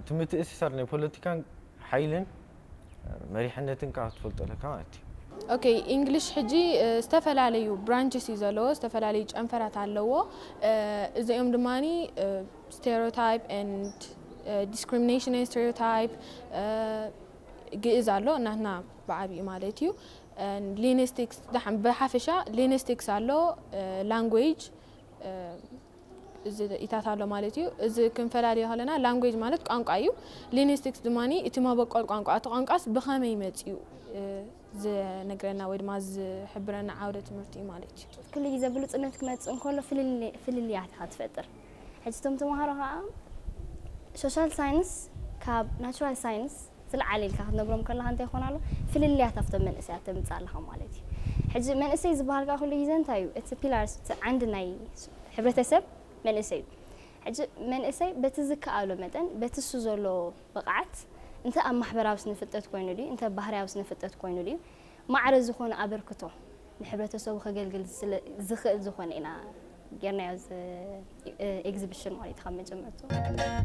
እቲ ምትእስሳር ናይ ፖለቲካን ሓይልን መሪሕነትን ከዓ ክትፈልጦ ኣለካ ማለት እዩ። ኦኬ፣ ኢንግሊሽ ሕጂ ዝተፈላለዩ ብራንችስ እዩ ዘለዎ፣ ዝተፈላለዩ ጨንፈራት ኣለዎ። እዚኦም ድማ stereotype and discrimination and stereotype፣ ግእዝ ኣሎ እናትና ብዓብዩ ማለት እዩ። ሊንግስቲክስ ብሓፈሻ ሊንግስቲክስ ኣሎ፣ ላንጉጅ እዚ ኢታት ኣሎ ማለት እዩ። እዚ ክንፈላልዮ ከለና ላንጉጅ ማለት ቋንቋ እዩ። ሊንግስቲክስ ድማ እቲ መበቆል ቋንቋ፣ እቲ ቋንቋስ ብኸመይ መፅኡ ዝነግረና ወይ ድማ ዝሕብረና ዓውደ ትምህርቲ እዩ ማለት እዩ። ኩሉ ግዜ ብሉፅነት ክመፅእ እንከሎ ፍልልያት ኢኻ ትፈጥር። ሕጂ እቶም ተምሃሮ ከዓ ሶሻል ሳይንስ ካብ ናቹራል ሳይንስ ዝለዓለ ኢልካ ክትነግሮም ከለካ እንታይ ይኾን ኣሎ ፍልልያት ኣብቶም መንእሰያት ተምፅእ ኣለካ ማለት እዩ። ሕጂ መንእሰይ ዝበሃል ከዓ ኩሉ ግዜ እንታይ እዩ? እቲ ፒላርስ፣ እቲ ዓንዲ ናይ ሕብረተሰብ መንእሰይ እዩ። ሕጂ መንእሰይ በቲ ዝከኣሎ መጠን በቲ እሱ ዘሎ ብቕዓት እንተ ኣብ ማሕበራዊ ስነፍልጠት ኮይኑ ድዩ እንተ ባህርያዊ ስነፍልጠት ኮይኑ ድዩ ማዕረ ዝኾነ ኣበርክቶ ንሕብረተሰቡ ከገልግል ዝኽእል ዝኾነ ኢና ጌርናዮ እዚ ኤግዚቢሽን ማለት እዩ ካብ መጀመርቱ።